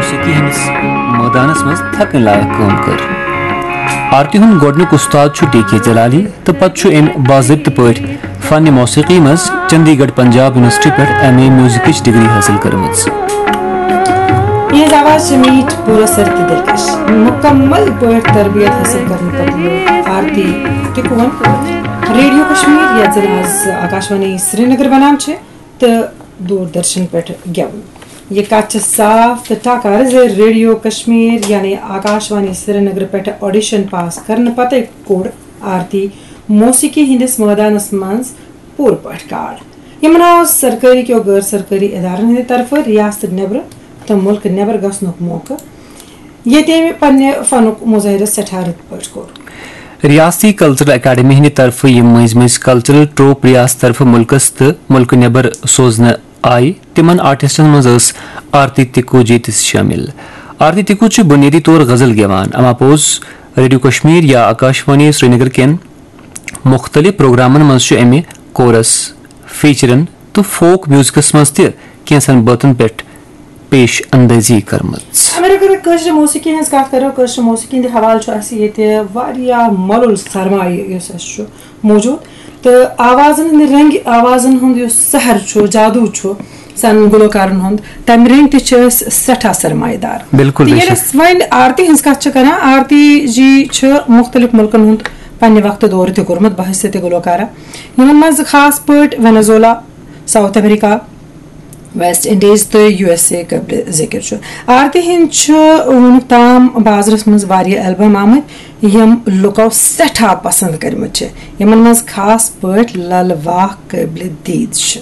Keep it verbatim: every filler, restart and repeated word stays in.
موسیقی ہٕنٛدِس مٲدانس منٛز تھکٕنۍ لایق کٲم کٔر۔ آرتی ہُنٛد گۄڈٕنیُک اُستاد چھُ ڈی کے جلالی تہٕ پتہٕ چھُ أمۍ باضٲبطہٕ پٲٹھۍ فن موسیقی منٛز چندی گڑھ پنجاب یونیورسٹی پٮ۪ٹھ ایم اے میوزکٕچ ڈگری حٲصِل کٔرمٕژ۔ یہنٛز آواز چھِ میٖٹھ، پُر اثر تہٕ دلکش۔ مُکمل پٲٹھۍ تربیت حٲصِل کرنہٕ پتہٕ لوگ آرتی تہِ کون ریڈیو کشمیر، یتھ زن آز آکاشوانی سرینگر ونان چھِ، تہٕ دوردرشن پٮ۪ٹھ گٮ۪وُن۔ یہِ کتھ چھِ صاف تہٕ ٹاکار زِ ریڈیو کشمیر یعنی آکاشوانی سرینگر پٮ۪ٹھ آڈیشن پاس کرنہٕ پتے کوٚڑ آرتی موسیقی ہٕنٛدِس مٲدانس منٛز پوٗرٕ پٲٹھۍ کاڑ۔ یِمن آو سرکٲری کیو غٲر سرکٲری ادارن ہٕنٛدِ طرفہٕ ریاست نٮ۪برٕ تہٕ مُلکہٕ نٮ۪بر گژھنُک موقعہٕ، ییٚتہِ أمۍ پننہِ فنُک مظٲہرٕ سٮ۪ٹھاہ رٕتۍ پٲٹھۍ کوٚر۔ ریاستی کلچرل اکیڈمی ہٕنٛدِ طرفہٕ یِم مٔنٛزۍ مٔنٛزۍ کلچرل ٹروپ ریاست طرفہٕ مُلکس تہٕ مُلکہٕ نٮ۪بر سوزنہٕ آیہِ، تِمن آرٹسٹن منٛز ٲس آرتی تِکوجی تہِ شٲمِل۔ آرتی تِکو چھِ بُنیٲدی طور غزل گٮ۪وان، اما پوٚز ریڈیو کشمیر یا آکاشوانی سرینگر کٮ۪ن مُختٔلِف پروگرامن منٛز چھُ أمہِ کورس، فیچرن تہٕ فوک میوزکس منٛز تہِ کینٛژن بٲتن پٮ۪ٹھ پیش اندٲزی کٔرمٕژ۔ اگر اگر کٲشرِ موسیقی ہٕنٛز کتھ کرو، کٲشرِ موسیقی ہٕنٛدِ حوالہٕ چھُ اسہِ ییٚتہِ واریاہ مۄلُل سرمایہِ یُس اسہِ چھُ موجود، تہٕ آوازن ہٕنٛدِ رنگہِ آوازن ہُنٛد یُس سحر چھُ، جادو چھُ سانٮ۪ن گلوکارن ہُنٛد، تمہِ رنگہِ تہِ چھِ أسۍ سٮ۪ٹھاہ سرمایہِ دار۔ بِلکُل، تہٕ بے ییٚلہِ شک۔ أسۍ وۄنۍ آرتی ہٕنٛز کتھ چھِ کران، آرتی جی چھِ مُختٔلِف مُلکن ہُنٛد پننہِ وقتہٕ دورٕ تہِ کوٚرمُت بحیثیت گلوکارہ، یِمن منٛز خاص پٲٹھۍ Venezuela, south America, West Indies تہٕ یو ایس اے قٲبلِ ذِکر چھُ۔ آرتی ہٕنٛدۍ چھِ وُنیُک تام بازرس منٛز واریاہ البم آمٕتۍ، یِم لُکو سٮ۪ٹھاہ پسند کٔرمٕتۍ چھِ، یِمن منٛز خاص پٲٹھۍ لل واہ قٲبلِ دید چھِ۔